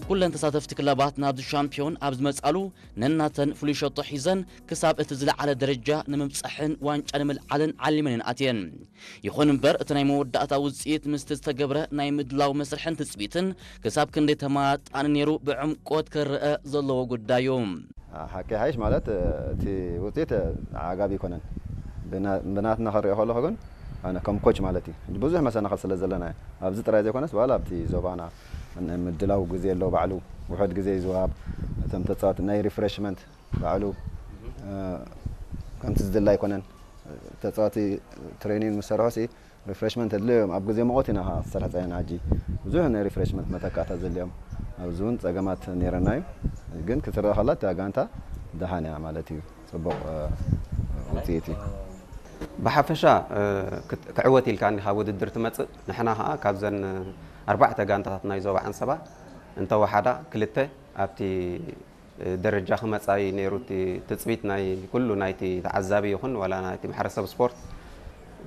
ኩለን ተሳተፍቲ ክለባት ናብዚ ሻምፒዮን ኣብ ዝመጻሉ ነናተን ፍሉይ ሸቶ ሒዘን ክሳብ እቲ ዝለዓለ ደረጃ ንምብጻሕን ዋንጫ ንምልዓልን ዓሊመን እየን ኣትየን። ይኹን እምበር እቲ ናይ መወዳእታ ውጽኢት ምስቲ ዝተገብረ ናይ ምድላው መስርሕን ትጽቢትን ክሳብ ክንደይ ተመጣጣኒ ነይሩ ብዕምቆት ክረኣ ዘለዎ ጉዳይ እዩ። ሓቂ ሓይሽ ማለት እቲ ውፅኢት ዓጋቢ ኣይኮነን። ብናትና ክሪኦ ከለኹ ግን ኣነ ከም ኮች ማለት እዩ ብዙሕ መሰናኽል ስለ ዘለና ኣብዚ ጥራይ ዘይኮነስ በላ ኣብቲ ዞባና ምድላው ግዜ ኣሎ ባዕሉ ውሕድ ግዜ ይዝዋብ እቶም ተፃወት ናይ ሪፍሬሽመንት ባዕሉ ከምቲ ዝድላ ኣይኮነን ተፃወቲ ትሬኒንግ ምስ ሰርሖ ሪፍሬሽመንት ኣድልዮም ኣብ ግዜ ሙቐት ኢና ክሰርሕ ፀኒሕና ሕጂ ብዙሕ ናይ ሪፍሬሽመንት መተካእታ ዘድልዮም ኣብዚ እውን ፀገማት ነይረና እዩ ግን ክትረአ ከላ እታ ጋንታ ደሓን እያ ማለት እዩ ፅቡቕ ውፅኢት እዩ ብሓፈሻ ክዕወት ኢልካ እንዲ ካብ ውድድር ትመፅእ ንሕና ከዓ ካብዘን ኣርባዕተ ጋንታታት ናይ ዞባ ዓንሰባ እንተወሓዳ ክልተ ኣብቲ ደረጃ ክመፃ እዩ ነይሩ እቲ ትፅቢት ናይ ኩሉ ናይቲ ተዓዛቢ ይኹን ዋላ ናይቲ ማሕበረሰብ ስፖርት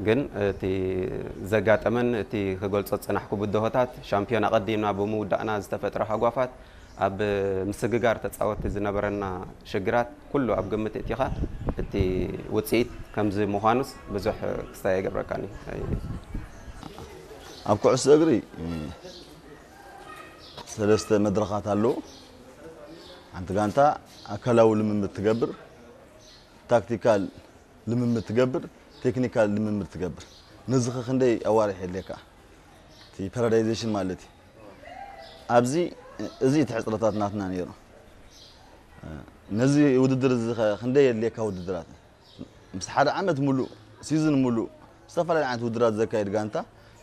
ግን እቲ ዘጋጠመን እቲ ክገልፆ ዝፀናሕኩ ብድሆታት ሻምፒዮን ኣቐዲምና ብምውዳእና ዝተፈጥረ ሃጓፋት ኣብ ምስግጋር ተፃወቲ ዝነበረና ሽግራት ኩሉ ኣብ ግምት እቲኻ እቲ ውፅኢት ከምዚ ምዃኑስ ብዙሕ ክስታይ ኣይገብረካን እዩ ኣብ ኩዕሶ እግሪ ሰለስተ መድረኻት ኣለዉ። ሓንቲ ጋንታ ኣካላዊ ልምምድ ትገብር፣ ታክቲካል ልምምድ ትገብር፣ ቴክኒካል ልምምድ ትገብር። ነዚ ኸ ክንደይ ኣዋርሕ የድልየካ? እቲ ፓራዳይዜሽን ማለት እዩ። ኣብዚ እዚ እቲ ሕፅረታት ናትና ነይሩ። ነዚ ውድድር እዚ ኸ ክንደይ የድልየካ ውድድራት? ምስ ሓደ ዓመት ሙሉእ ሲዝን ሙሉእ ዝተፈላለዩ ዓይነት ውድድራት ዘካይድ ጋንታ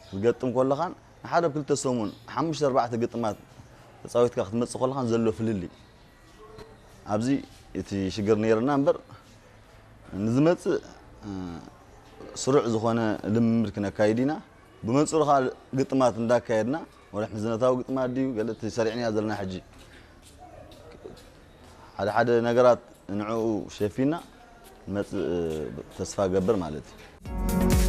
ክትገጥም ከለኻን ንሓደ ክልተ ሰሙን ሓሙሽተ ኣርባዕተ ግጥማት ተፃዊትካ ክትመፅእ ከለኻን ዘሎ ፍልልይ ኣብዚ እቲ ሽግር ነይርና እምበር ንዝመፅእ ስሩዕ ዝኾነ ልምምድ ክነካይድ ኢና ብመንፅሩ ከዓ ግጥማት እንዳካየድና ወላ ሕዝነታዊ ግጥማት ድዩ ገለ እቲ ሰሪዕናዮ ዘለና ሕጂ ሓደ ሓደ ነገራት ንዕኡ ሸፊና ንመፅእ ተስፋ ገብር ማለት እዩ